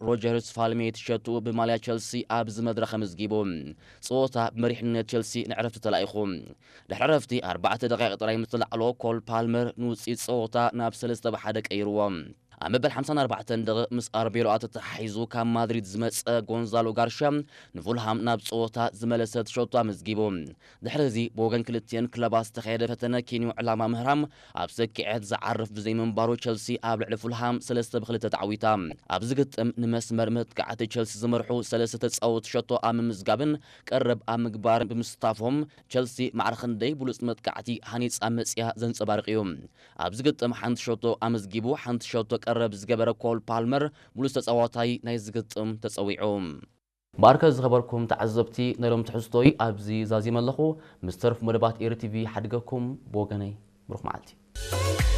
ሮጀርስ ፋልሜት ሸቱ ብማልያ ቸልሲ ኣብዚ መድረኽ ኣመዝጊቡ። ጸወታ ብመሪሕነት ቸልሲ ንዕረፍቲ ተላኢኹ። ድሕሪ ዕረፍቲ ኣርባዕተ ደቂቕ ጥራይ ምስ ተላዕሎ፣ ኮል ፓልመር ንውጽኢት ጸወታ ናብ ሰለስተ ብ ሓደ ቀይርዎ። ኣብ መበል ሓምሳን ኣርባዕተን ደቂቕ ምስ ኣርቤሎኣ ተተሓሒዙ ካብ ማድሪድ ዝመጸ ጎንዛሎ ጋርሻ ንፉልሃም ናብ ጸወታ ዝመለሰት ሸቶ ኣመዝጊቡ። ድሕሪ እዚ ብወገን ክልቲኤን ክለባት ዝተኻየደ ፈተነ ኪንዮ ዕላማ ምህራም ኣብ ሰኪዐት ዝዓርፍ ብዘይምንባሩ፣ ቸልሲ ኣብ ልዕሊ ፉልሃም ሰለስተ ብ ክልተ ተዓዊታ። ኣብዚ ግጥም ንመስመር መጥቃዕቲ ቸልሲ ዝመርሑ ሰለስተ ተጻወትቲ ሸቶ ኣብ ምምዝጋብን ቀረብ ኣብ ምግባርን ብምስታፎም፣ ቸልሲ ማዕረ ክንደይ ብሉጽ መጥቃዕቲ ሃኒጻ መጽያ ዘንጸባርቕ እዩ። ኣብዚ ግጥም ሓንቲ ሸቶ ኣመዝጊቡ፣ ሓንቲ ሸቶ ቀረብ ዝገበረ ኮል ፓልመር ብሉጽ ተጻዋታይ ናይዚ ግጥም ተጸዊዑ። ባርከ ዝኸበርኩም ተዓዘብቲ፣ ናይ ሎም ትሕዝቶይ ኣብዚ ዛዚመ ኣለኹ። ምስ ተርፍ መደባት ኤሪ ቲቪ ሓድገኩም። ብወገነይ ብሩኽ መዓልቲ።